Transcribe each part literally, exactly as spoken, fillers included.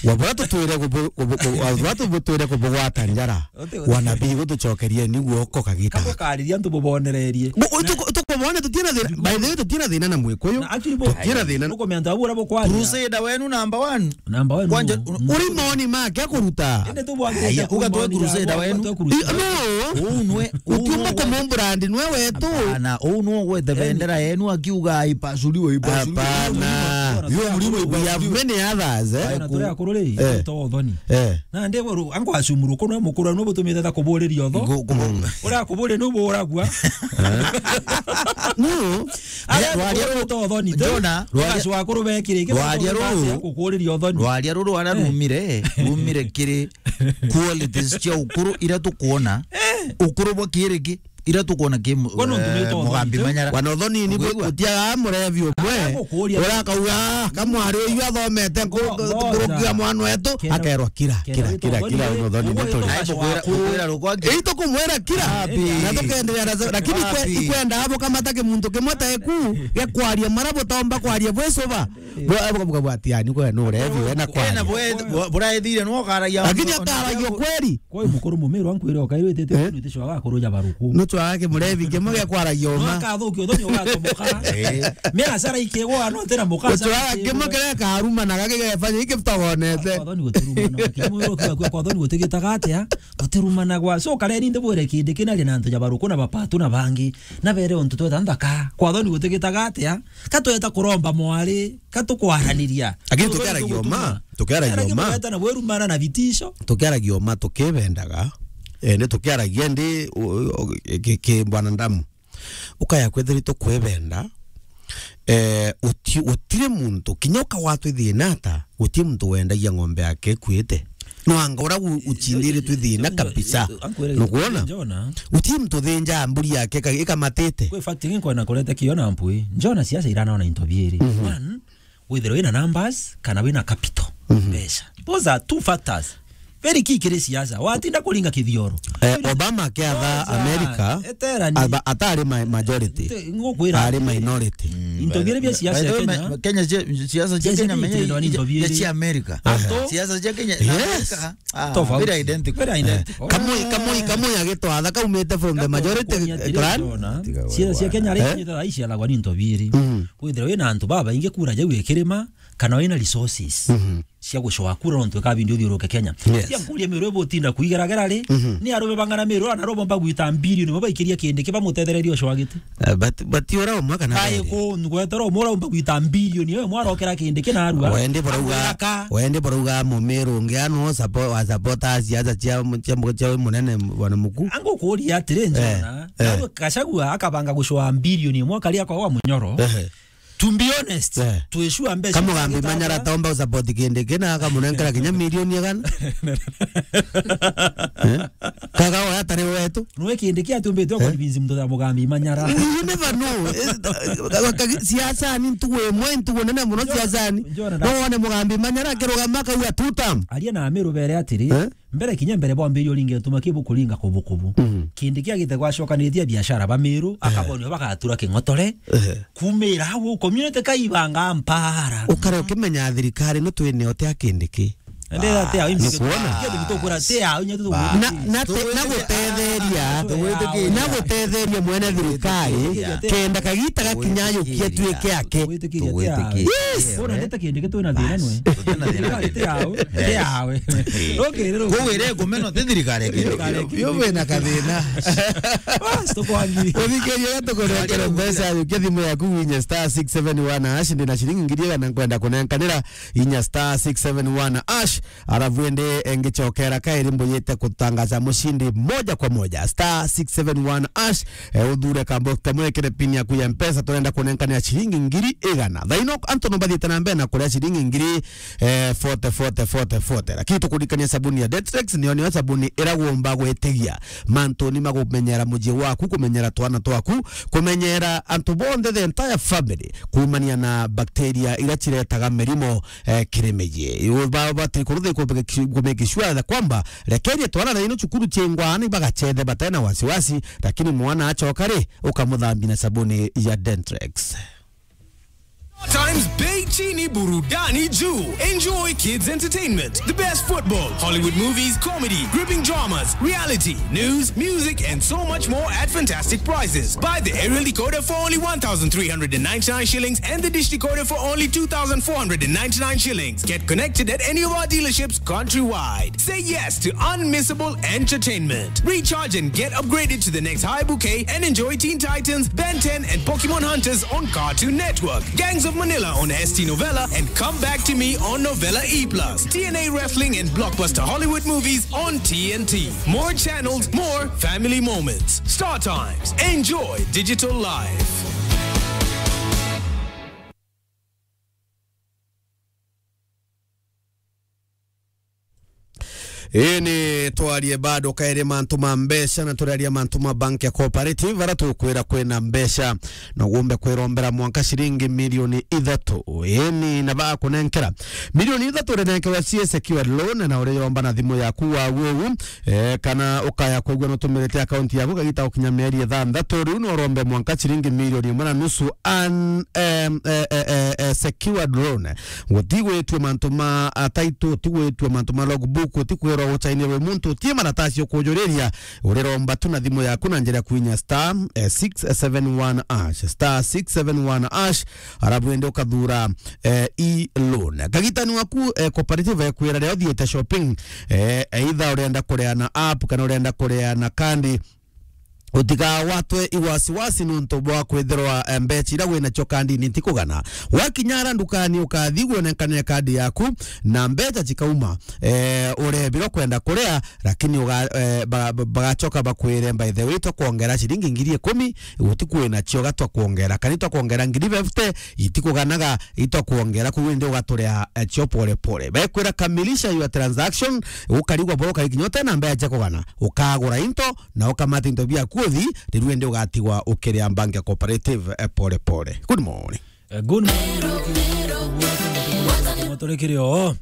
Wa bura tutwire kubu-, kubu-, kubu-, wa bura tutwire kubugwata njara. Uti-, uti- Wanabii gutucokerie ni guoko kagita. Kabukaririria antu bubonererie. Bu-, utu-, tukubone tutina thina, by the way, tutina thina na Mwikuyu. Na actually, bu-, tutina thina. Nukumenya antu abu ura bukwanja. Crusader wenu number one. Number one. Kwanja, nu-, u-, uri moni make akuruta. Ende tu bwangite. Aya, uga tu kumonia, crusader uga wenu. Tu crusader. I-, no. Uu nwe, uu utiumba nwe. Kumumbrand nwe wetu. Hapana, uu nwe gwete bendera yenu akiuga ipasuliwe, ipasuliwe. Hapana. Yo mlimo. We have many others, eh? Bwana, turi akuru ri, eh, to uthoni. Eh. Na ndi buru, angu acumuru kuno mukuru no butumite ta kuburiria utho. Ku-, ku-, mm. Ura kuburi no buragua. No. Ara rwaria kuburi ru-, to uthoni. Jona, rwaria, ugacwa akuru bekire, rwaria ruru, kukuriria uthoni. Rwaria ruru ara, eh, rumire, rumire kiri qualities cia ukuru ira tukuona. Eh. Ukuru bwa kiriki. Ira tukwona ki mu-, kwani untu ni, eh, to Mugambi uthoni tu? Manyara. Wana uthoni ni. Ugwigua? Utiaga murevi umwe. Aragukuria. Urakauga, "Ah, kamwari uyu athomete nku-, ngo-, nkurukia mwana wetu," kenda, akerwa, "Kira, kenda kira, wita kira, uthoni kira, ri, wana uthoni ni uwe turi." Ai, tukwira, tukwira rukwa ki? Ii, tukumwira kira. Wapi? Na tukenderea na, lakini ikwe-, wapi? Ikwenda abo kamata kimuntu kimwe ta iku, gekwaria mara butomba kwaria bwicuba. Bwa-, bwa-, bwa-, bwa-, ati, yani, kwe ni urevi, we na kwaria. Ena bwe-, bwa-, buraethire no karagia. Lakini akaragia kweli. Kwa mukuru mumiru ankwire okairwe itete, eh? Nitishwaga kuruja baruku. Nuchwaga kimurevi kimwe gia kwaragia uma. No akathukia uthoni ugatomoka. Eh. Mira sara ikigwa no tena muka. Nuchwaga kimwe kiria karuma na gaki gefanya iki butagonete. Kwa uthoni gutirumana. Kimwe ukiwa kwa uthoni gutigitaga atia? Gutirumanagwa. So kareni ndibwire kindi kina ri na antu ja baruku na bapatu na bangi. Na bere untu tweta nthaka. Kwa uthoni gutigitaga atia? Ka tweta kuromba mwari, ka tukwaraniria. Lakini tukiaragia uma, tukiaragia uma. Era kimureta na bwerumana na vitisho. Tukiaragia uma tukibendaga. Eh, ni tukiaragia ndi, u-, u-, ki, ki bwanadamu. Ukaya kwithiri tukwibenda. Eh, uti-, utire muntu, kinya ukawatwa ithina ata, uti muntu wendagia ng'ombe yake ikuite. No anga ura u-, uchindiritwe thina kabisa. Nukwona? Jona. Uti muntu thinja mburi yake ka-, ikamatite. Kwi fact ingi nkwenda kureta kio na mpui. Jona siasa iranaona into biiri. Mhm. One, withirwe wina numbers, kana wina capital. Mhm. Mbeca. Those are two factors. Very key kiri siasa. Watinda kuringa kithioro. Eh, Obama akiatha America, aba-, atari ma-, majority. Te-, ngukwira ari atiri, minority. Mm, into biiri bia siasa ya Kenya. Kenya cia-, siasa cia Kenya menya into biiri. Cia America. Ato. Siasa cia Kenya na America. Ah, tofauti. Very identical. Very identical. Eh. Kamwe, kamwe, kamwe agitwatha kaumite from the majority clan. Siasa cia Kenya ri nyita thaa ici alagwa ni into biiri. Mm. Kwithirwa wina antu babaingi kura jau ikirima, kana wina resources. Mhm. Cia gucoa kura nontu eka bindi uthiuruke Kenya. Yes. Cia nkuria miru ibutinda kuigeragera ri, mhm, ni arume bang'ana miru ana robo mba gwita mbilioni mo baikiria kindi kiba mutethereria ucoa giti. Eh, but, but ura umwe kana kae beri? Ku ngwetera umwe ura umba gwita mbilioni yo mwarokera kindi kinarua. Wende barauga, wende barauga mumiru ungi ano support, wa support siasa cia, cia, cia munene bwana muku. Angu kuria atiri, eh, njona, eh, nawe Gachagua akabanga gucoa mbilioni imwe akaria kwa wa munyoro. Eh. To be honest, eh, twisua mbeca. Kamugambi Manyara tomba usupport kindi kina akamunenkera kinya milioni igana. Eh? Kaga oya atari wetu. Nwe kindi kia tumbite, eh, convince muntu ta Mugambi Manyara. You never know. Eh, ka-, ka-, siasa ni ntugu imwe, ntugu nene muno siasa ni. Njona, no wone Mugambi Manyara akirugama akauga two term. Aria na Amiru bere atiri, eh? Mbere kinya mbere bwambiririe uringe tuma kibu kuringa kubukubu. Mhm. Kindi kia gite gwacokanitie biashara ba Miru, eh, akabonio bagatura king'otore. Eh. Kumira hau community kaibanga mpara. Ukare ukimenya thirikari no twine ote akindi ki. Ende ate au imbi. Nukwona? Kio gitokura te au nyetu. Na, na te, na gutetheria, na gutetheria mwene thirikari, kenda kagita gakinya yukie tuike ake. Gwitikiria te au. Gwitikiria te au. Yes. Bona ndete kindi gitwina thina nwe. Tutina thina. Thirikari te au. Te awe. Okay, rero. Kuwire kumeno te thirikari kindi. Yo wina kathina. Bas, tukwagi. Uthikiria tukurekera mbeca, yukia thimu yaku winye star six seven one hash, ndina ciringi ngiri igana nkwenda kunenkanira. Inya star six seven one hash, arafu indi engicokera kairi mbuyite kutangaza mushindi moja kwa moja. Star six seven one hash, eh, uthure kambo kamwe kiri pin yaku ya Mpesa, turenda kunenkanira ciringi ngiri igana. Thaino antu no bathiite na mbere na kuria ciringi ngiri, eh, forty, forty, forty, forty. Lakini tukuririkania sabuni ya Detrex, niyo, niyo sabuni ira gumba gwitigia mantu ni magumenyera mucii waku, kumenyera twana twaku, kumenyera antu bonthe, the entire family, kuumania na bakteria ira ciretaga mirimo, eh, kiri micii. Ba-, batiri kurutha ku-, ku-, ku make sure that kwamba rekerie twana na ino cukuru ciengwa ni bagacethe batena wasiwasi, lakini mwana acoka ri, ukamuthambia na sabuni ya Dentrex. Times Bei Chini Burudani Juu. Enjoy kids entertainment, the best football, Hollywood movies, comedy, gripping dramas, reality, news, music, and so much more at fantastic prices. Buy the aerial decoder for only one thousand three hundred and ninety-nine shillings and the dish decoder for only two thousand four hundred and ninety-nine shillings. Get connected at any of our dealerships countrywide. Say yes to unmissable entertainment. Recharge and get upgraded to the next high bouquet and enjoy Teen Titans, Ben ten, and Pokemon Hunters on Cartoon Network. Gangs of Manila on S T Novella and Come Back to Me on Novella E plus. T N A Wrestling and blockbuster Hollywood movies on T N T. More channels, more family moments. Star Times. Enjoy digital life. Ii ni twarie bado kairi mantu ma mbeca, na turaria mantu ma bank ya cooperative, ara tukwira kwina mbeca na ugumbe kwirombera mwanka ciringi milioni ithatu. Ii ni na bakunenkera milioni ithatu, urinenkerwa cie secured loan, na uriyomba na thimu yaku wa uu, eh, kana ukaya kwigua nutumirite account yaku kagita gukinya mieri ithanthatu, riu no urombe mwanka ciringi milioni imwe na nusu an, em, eh, eh, eh, eh, secured loan. Gutigwitue mantu ma, ah, title, gutigwitue mantu ma logbook, utikwirwa gucainirwe muntu, utie maratasi ukujuriria, uriromba tu na thimu yaku na njira ya kuinya star, eh, six seven one hash, star six seven one hash, arabu indi ukathura, eh, e-loan. Kagitani waku, eh, cooperative ekwira riria uthiite shopping, eh, either urenda kuria na app kana urenda kuria na kandi, utigawatwe iwasiwasi nontu bwa kwithirwa, eh, mbecha iria winacio kandini ntikugana. Wakinya ara ndukani, ukathi gwonenkane kandi yaku na mbecha cikauma, eh, urebirwa kwenda kuria, lakini uga-, eh, ba-, ba-, bagacoka bakwire, "By the way, twakwongera ciringi ngiri ikumi, gutiku winacio ga twakwongera, kana twakwongera ngiri fifty, itikuganaga, itwakwongera, kuu indi ugaturia, eh, cio pole pole." Bekwira, "Kamilisha your transaction," ukarigwa boro karikinya utena mbecha cia kugana, ukagura into, na ukamata into biaku uthi, riu indi ugatigwa ukiria bank ya cooperative, eh, pole pole. Good morning. Eh, good morning. Turi kiri o.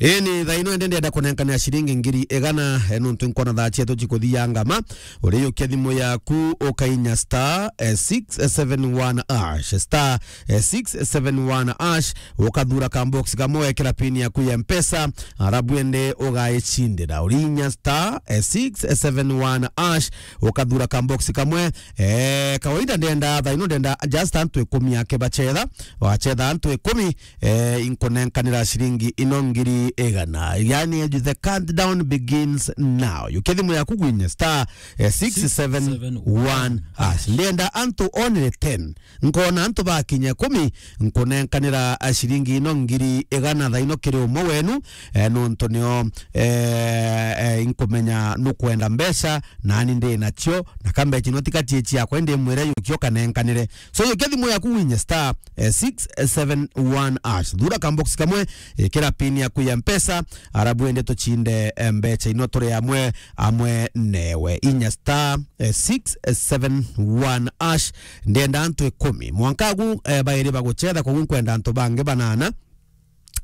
Ii ni thaa ino ende ndienda kunenkania ciringi ngiri igana, eh, nontu nkona thaa cietu cikuthianga ma. Uriyukia thimu yaku ukainya star, eh, six seven one hash, star, eh, six seven one hash, ukathura ka box kamwe, wekira pin yaku ya Mpesa, arabu ende ugaicindira. Urinya star, eh, six seven one hash, ukathura ka box kamwe. Eh, kawaida ndenda, thaa ino ndenda just antu ikumi ake bachetha, wachetha antu ikumi, eh, inkunenkanira ciringi ino ngiri igana. Yani, the countdown begins now. Yukia thimu yaku gwinye star, eh, six seven one hash. Ndenda antu only ten. Nkona antu bakinya ikumi, nkunenkanira, eh, ciringi ino ngiri igana thaa ino kiri umwe wenu, eh, nontu nio, eh, eh, inkumenya nukwenda mbeca, nani ndi nacio, na ka mbeca ino ti ka cie ciakwa, indi mwire yukia ukanenkanire. So, yukia thimu yaku winye star, eh, six seven one hash. Thura ka box kamwe, ikira pin yaku ya Mpesa, arabu ende tuchinde, eh, mbecha ino turi amwe, amwe newe. Inya star, eh, six seven one hash. Ndenda antu ikumi. Mwanka agu, eh, bairi baguchetha, koguo nkwenda antu bangi banana.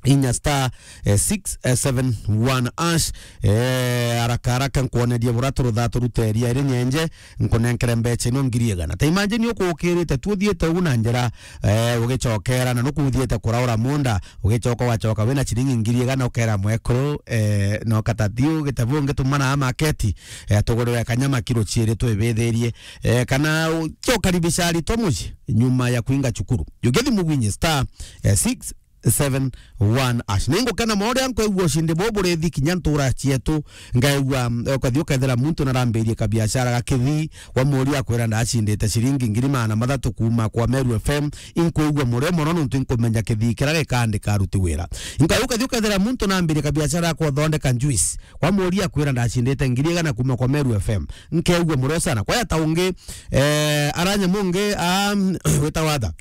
Inya star, eh, six seven one hash. Eh, haraka haraka nkwonerie bura turutha turuteria iri nyenje, nkunenkere mbecha ino ngiri igana. Ta imagine ukukirite tu uthiite ugu na njira, eh, ugicokera na nuku uthiite kuraura munda, ugicoka ugacoka wina ciringi ngiri igana ukera mwekuru, eh, no katatiu gitabu ngitumana maketi, eh, tugurire kanyama kiro ciiri twibithirie, eh, kana u-, ukaribisha aritwa mucii nyuma ya kuinga cukuru. Yukia thimu gwinye star, eh, six seven one hash. Ningukena mono riria nkwigua ushindi bubu burithi kinya ntura cietu. Ngaigua, mm, ukathi ukethira muntu narambirie kabiashara ga kithii, wamuria akwira ndacindite ciringi ngiri magana mathatu kuuma kwa Meru F M. Inkwigua murio mono nontu inkumenya kithii kiria gikandika aruti wira. Ngai ukathi ukethira muntu nambirie kabiashara ya kuthondeka juice, wamuria akwira ndacindite ngiri igana kuuma kwa Meru F M. Nkeigua murio sana. Kwaya ta ungi, eh, aranya mungi, um, witagwa atha?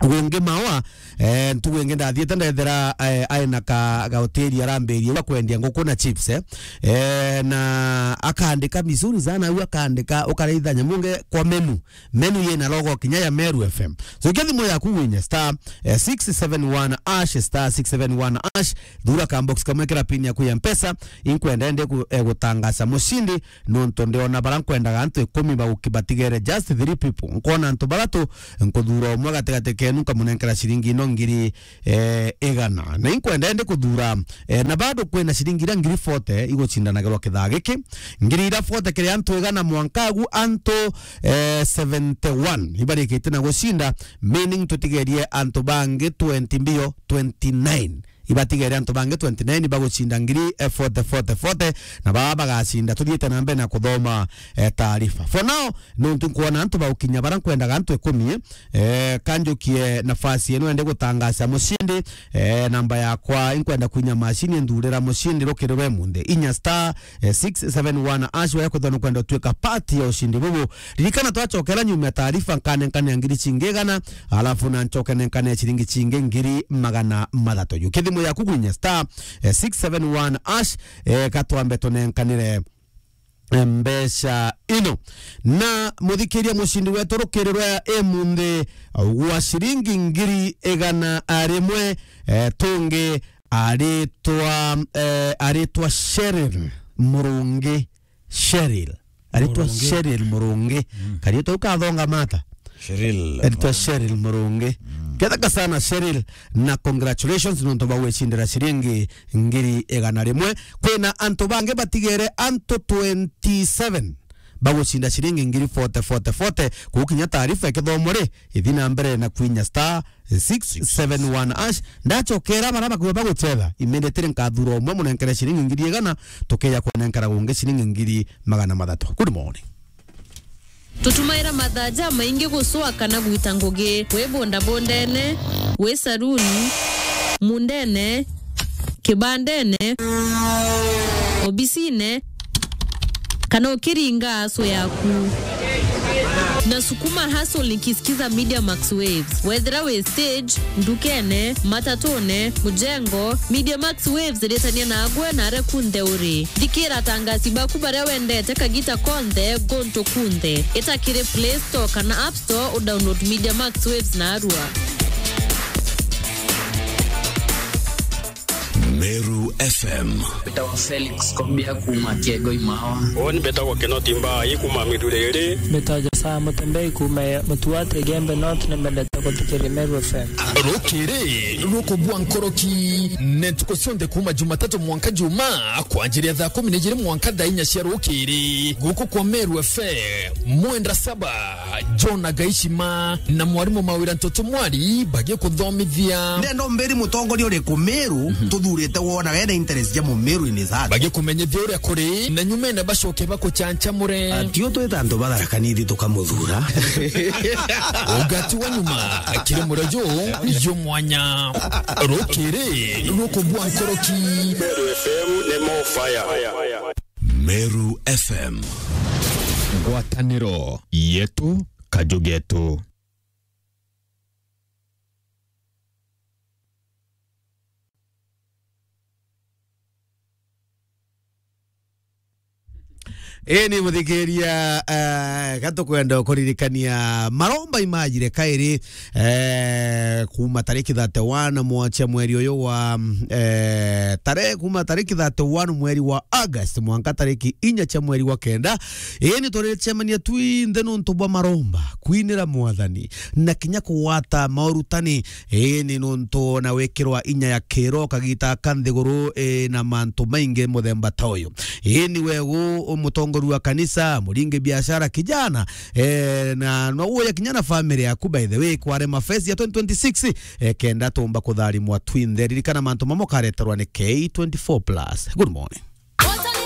Gungi mawa, eh, ntugu ingi ndathiite ndethira, eh, aina ka, ga hoteli arambirie wa kwendia nguku na chips, eh. Eh, na akandika mizuri sana, au akandika ukareithania munge kwa menu. Menu yina logo kinya ya Meru F M. So, kia thimu yaku winye star, eh, six seven one hash, star six seven one hash, thura ka box kamwe kira pin yaku ya Mpesa, inkwenda ende ku-, eh, gutangaza mushindi, nontu ndiona bara nkwendaga antu ikumi bauki batigere just three people. Nkona antu baratu, nkuthura umwe gatigati ke enu nkamunenkera ciringi ino ngiri, eh, igana. Na inkwenda ende kuthura, eh, na bado kwina ciringi iria ngiri forty igucindanagirwa kithaa giki. Ngiri iria forty kiri antu igana mwanka agu antu, eh, seventy-one ibarikite na gucinda, meaning tutigerie antu bangi twenty mbio, twenty-nine. Ibatigere antu bangi twenty-nine bagucinda ngiri, eh, forty, forty, forty, na baa bagacinda. Tuthiite na mbere na kuthoma, eh, taarifa. For now, nontu nkwona antu bagukinya bara nkwendaga antu ikumi, eh, kanjukie nafasi ino ende gutangaca mucindi, eh, namba yakwa inkwenda kwinya macini nthurira mucindi rukiri rwe munthi. Inya star, eh, six seven one hash, waya kwithwa nukwenda utwika part ya ucindi bubu. Ririkana twacokera nyuma ya taarifa, nkanenkanea ngiri cingi igana, alafu na ncoke nenkane ciringi cingi ngiri magana mathatu. Yu kithimu yaku gwinya star, eh, six seven one hash, eh, katwambe tunenkanire, eh, mbeca ino. Na muthikiria mucindi wetu rukiri rwa imunthi gwa ciringi ngiri igana rimwe, eh, tungi aritwa, eh, aritwa Cheryl Murungi. Cheryl. Aritwa Murungi. Cheryl Murungi. Mm. Karietwa ukathonga mata? Cheryl. Aritwa Cheryl Murungi. Mm. Ketheka sana Cheryl, na congratulations nontu bwa gwicindira ciringi ngiri igana rimwe. Kwina antu bangi batigere antu twenty-seven bagucinda ciringi ngiri forty, forty, forty. Kugukinya taarifa ikithomwa ri, ithi na mbere na kwinya star six seven one hash. Ndacokera bara bakuwe bagucetha, immediately nkathura umwe munenkere ciringi ngiri igana, tukeja kunenkera gungi ciringi ngiri magana mathatu. Good morning. Tutumaira mathaa jamaingi gucwa kana gwita ngugi, wi bondabondene, wi saruni, mundene, kibandene, obisine, kana ukiringa aso yaku. Na sukuma hustle nikisikiza Media Max Waves. Wethira wi stage, ndukene, matatune, mujengo, Media Max Waves ritania nagwe na aria kunthe uri. Thikira atangasi baku baria wendete kagita konthe, gontu kunthe. Ita kiri Play Store kana App Store, udownload Media Max Waves narua. Meru F M. Mbetawa Felix Kobia kuuma Kiego Imawa. Uni mbetagwa Kinoti Mbai kuuma Miruriri. Mbetawa Josaa Mutembei kuuma Mutuate Gembe North, ni mbendete guthikiria Meru F M. Rukiri rukubua nkoroki ni ntuku cionthe kuuma Jumatatu mwanka Juma, kwanjiria thaa kumi na ijiri mwanka thaa inya cia rukiri. Guku kwa Meru F M, mwenda saba. John Agaishima na mwarimu Mawira Ntoto Mwari bagikuthomithia. Ndenda umbiri mutongoria uriku Meru tuthurite wonaga ena interest ja Mumeru in his heart. Bagikumenyithia uria kuri, na nyumene bacoke bakuchanchamure. Atio twita antu batharaka nithi tukamuthura. Ugati wa nyuma kiri murejo yo mwanya. Rukiri rukubua nkoroki. Meru F M ni more fire. Meru F M. Ngwataniro yetu, kaju getu. Ii ni muthikiria, eh, gatukwenda kuririkania maromba imajire kairi, eh, kuma tariki thirty-one mwa cia mweri uyu wa, eh, tare-, kuma tariki thirty-one mweri wa August mwanka tariki inya cia mweri wa kenda. Ii ni turicemania twinthe nontu bwa maromba, kwinira Mwathani, na kinya kugwata maurutani. Ii ni nontu na wikirwa inya ya kiro kagita ka nthiguru, ii, na mantu maingi muthemba ta uyu. Ii ni wegu mutongoria wa kanisa, muringi biashara, kijana, eh, na no uye kinya na family yaku, by the way, kware mafesi ya twenty twenty-six, eh, kenda tumba kutharimwa twinthe. Ririkana mantu mamwe kareterwa ni K twenty-four plus. Good morning.